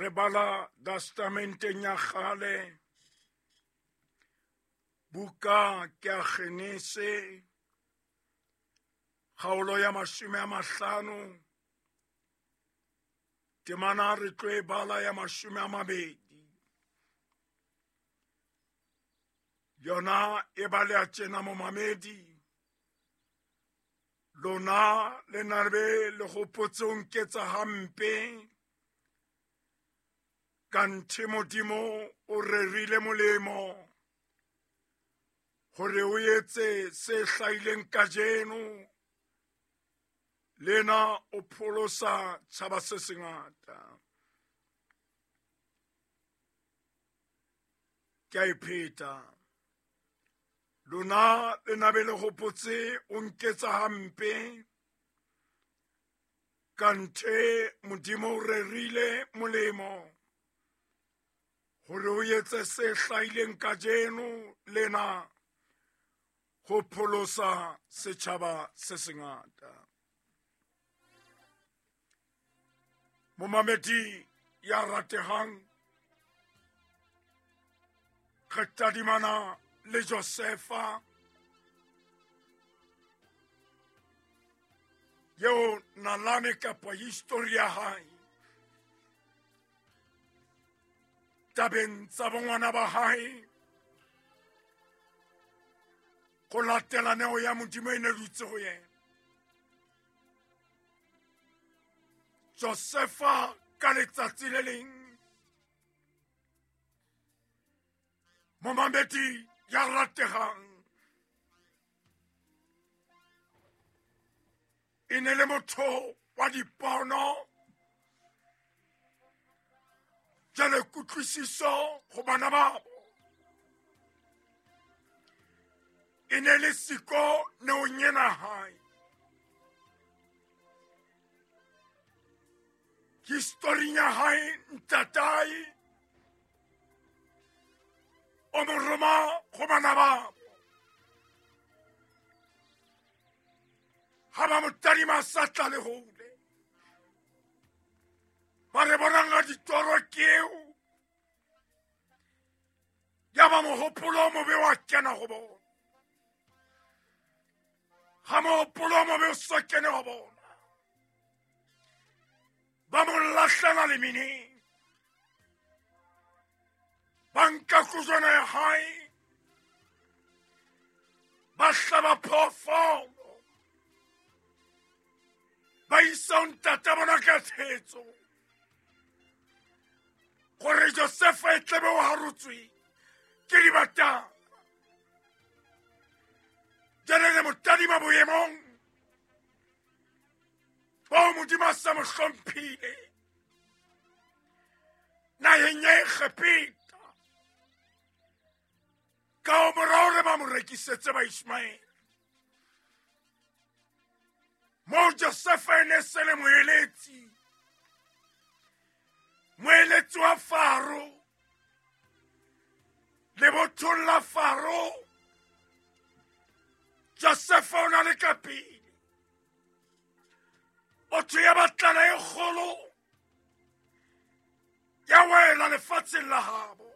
Re bala testamenteng ya kgale, buka ke ya Genese, kgaolo ya 50, temana re tlo e bala ya 20. Yona e baleha tjena momamedi, lona le na be le hopotse ho nketsa hampe, kanthe Modimo o rerile molemo hore o etse se hlahileng kajeno, lena o pholosa tjhaba se sengata. Ke a e pheta. Lona le na be le hopotse o nketsa hampe, kanthe Modimo o rerile molemo hore o etse se hlahileng kajeno lena ho pholosa setjhaba se sengata. Momamedi ya ratehang, re tadimana le Josefa eo nalane kapa histori ya hae tabeng tsa bongwana ba hae go latela neo ya Modimo e ne dutse go yena. Josefa ka letsatsi le leng, momamedi ya rategang, e ne le motho wa dipono, jwale kutlwisiso go bana babo e ne le siko neong ena hae. Historing ya hae ntatae o mo roma go bana babo, ha ba mo tadima sa tla le hole, ba re bonang ga ditoro keo, ya ba mohopolo o mobe wa kena go bona. Ha mohopolo o mobe o sa kene go bona, ba mo lahlela lemeneng, ba nka kojwana ya hae, ba hlaba phoofolo, ba isa ho ntata bona ka thetso gore Josefa e tlebe o harotswe ke dibatana. Jwale re mo tadima boemong bao Modimo a sa mo hlomphile naheng ya Egepeta, ka ho morao re ba mo rekisetse ba Ishmaele. Moo Josefa e ne se le moeletsi, moeletsi wa Faro, lebothong la Faro, Josefa o na le ka pele. Motho ya batlana e kgolo ya wela lefatsheng la habo,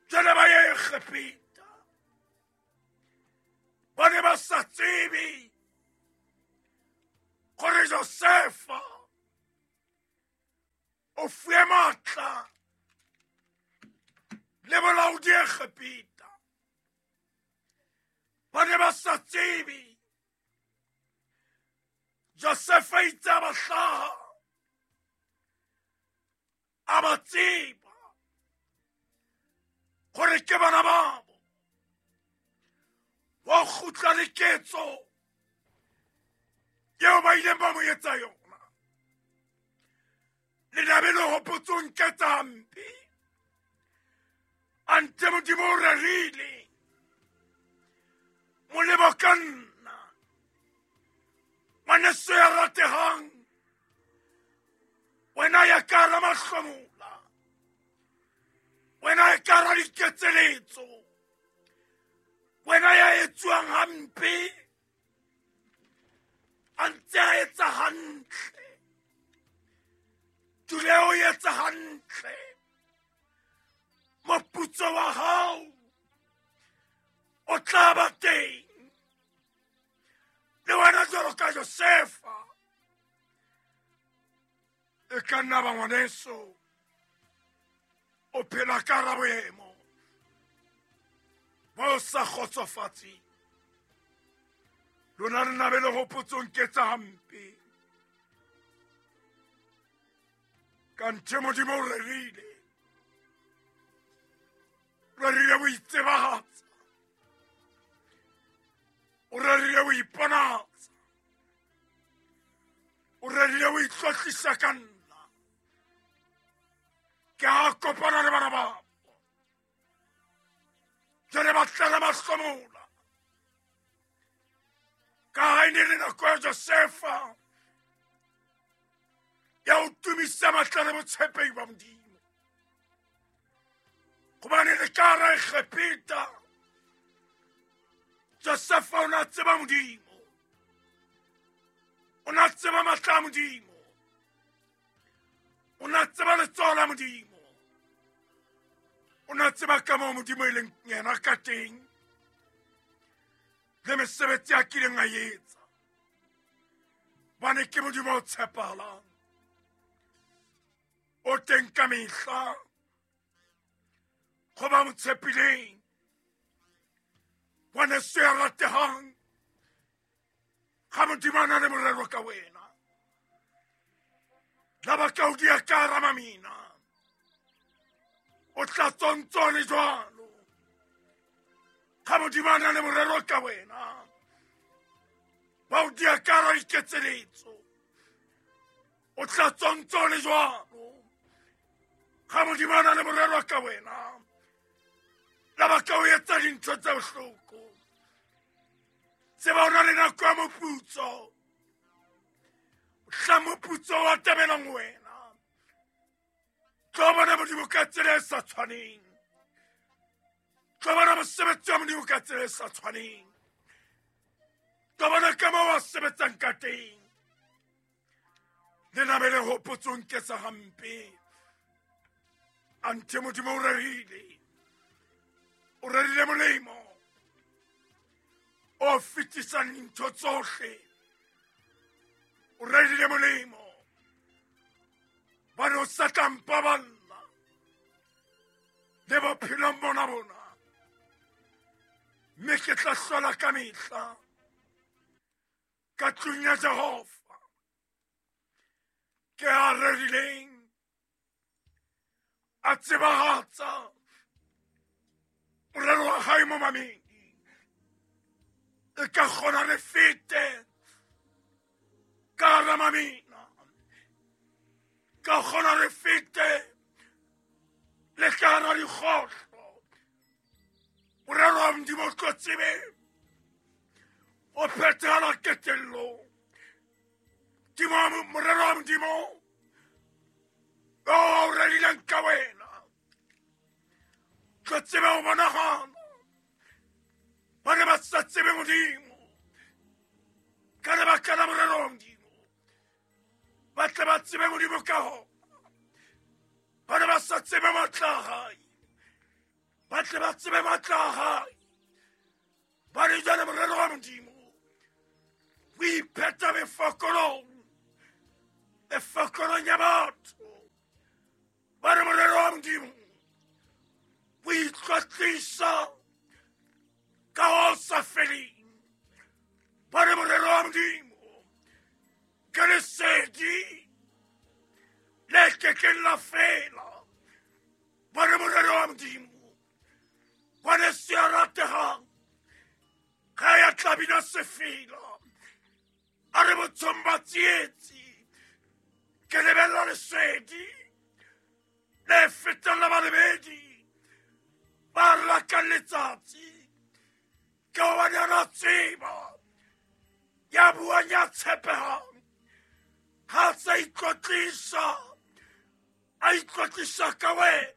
jwale ba ye Egepeta, ba ne ba sa tsebe gore Josefa o fuwe matla le bolaodi Egepeta. Ba ne ba sa tsebe Josefa itse a ba hlaha, a ba tseba gore ke bana babo. Wa kgutla le ketso eo ba ileng ba mo etsa yona. Le na be le hopotse ho nketsa hampe, ante Modimo o rerile molemo ka nna. Ngwaneso ya ratehang, wena ya ka hara mahlomola, wena ya ka hara diketseletso, wena ya etsuwang hampe a ntse a etsa hantle. ka o etsa hantle, moputso wa hao o tla ba teng. Le wena jwalo ka Josefa, e ka nna ba ngwaneso o phela ka hara boemo bo sa kgotsofatseng. Lona le na be le hopotsong ke tsa hampe. Kanthe Modimo o rerile, rerile ho itsebahatsa, o rerile ho iponatsa, o rerile ho itlotlisa ka nna. Ke a kopana le bana babo, jwale ba tlala mahlomola. Ka ha e ne le nako ya Josefa ya ho tumisa matla le botshepehi ba Modimo, hobane le ka hara Egepeta Josefa o na tseba Modimo, o na tseba matla a Modimo, o na tseba letsoho la Modimo, o na tseba ka moo Modimo e leng yena ka teng le mesebetsi a kileng a etsa. Bane ke Modimo o tshepahalang, o teng ka mehla go ba mo tshepileng. Ngwaneso ya ratehang, ga Modimo a na le morero ka wena, la ba ka o dia ka hara mamina, o tla tsontso le jwalo. Ga Modimo a na le morero ka wena, ba o dia ka hara diketseletso, o tla tsontso le jwalo. Ga Modimo a na le morero ka wena, la ba ka o etsa dintho tse bohloko, tseba o na le nako ya moputso, mohla moputso wa tabelang wena, tlo bona Modimo ka tsela e sa tshwaneng, tlo bona mosebetsi wa Modimo ka tsela e sa tshwaneng, tlo bona ka moo a sebetsang ka teng. Le na be le hopotsong ke tsa hampe, anthe Modimo o rerile, o rerile molemo o fetisang dintho tsohle, o rerile molemo bane o sa tla mpaballa le bophelong bona bona, mme ke tla hlola ka mehla ka tlung ya Jehova. Ke a rerileng a tsebahatsa morero wa hae mo mameng, e ka kgona re fete ka hara mamina, ka kgona re fete le ka hara dikgohlo. Morero wa Modimo o tlo tsebe o phethahala qetellong. Morero wa Modimo o rerileng ka wena tlo tsebe o bonagala. Ba ne ba sa tsebe Modimo ka lebaka la morero wa Modimo, ba tle ba tsebe Modimo ka hona. Ba ne ba sa tsebe matla a hae, ba tle ba tsebe matla a hae. Ba re jwale morero wa Modimo o iphetha mefokolong, mefokolong ya batho. Ba re morero wa Modimo o itlotlisa ka ho sa feleng. Ba re morero wa Modimo ke lesedi le kekeng la fela. Ba re morero wa Modimo ngwaneso ya ratehang, ga ya tla bina sefela, a re botshong ba tsietsi, ke lebella lesedi le fetang la balebedi ba rakang letsatsi. Ke hobane a na tseba ya buang ya tshepehang, ha sa itlotlisa, a itlotlisa ka wena.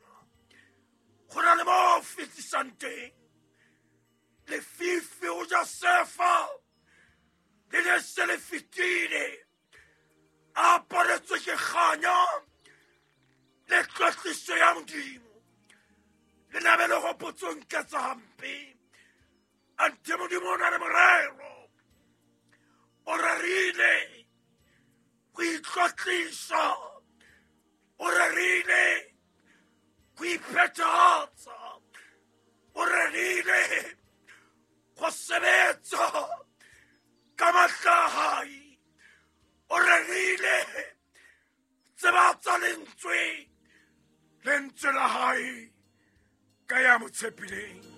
Go na le mo fetisang teng. Lefifi ho Josefa le ne se le fetile, a aparetswe ke kganya Tlotliso ya Modimo le nabe le gopotsong ka tsa hampe. Ante Modimo o na le morero, o rerile go itlotlisa, o rerile go iphethatsa, o rerile go sebetsa ka matla a hae, o rerile tsebatsa lentswe, lentswe la hae ka ya mo tshepileng.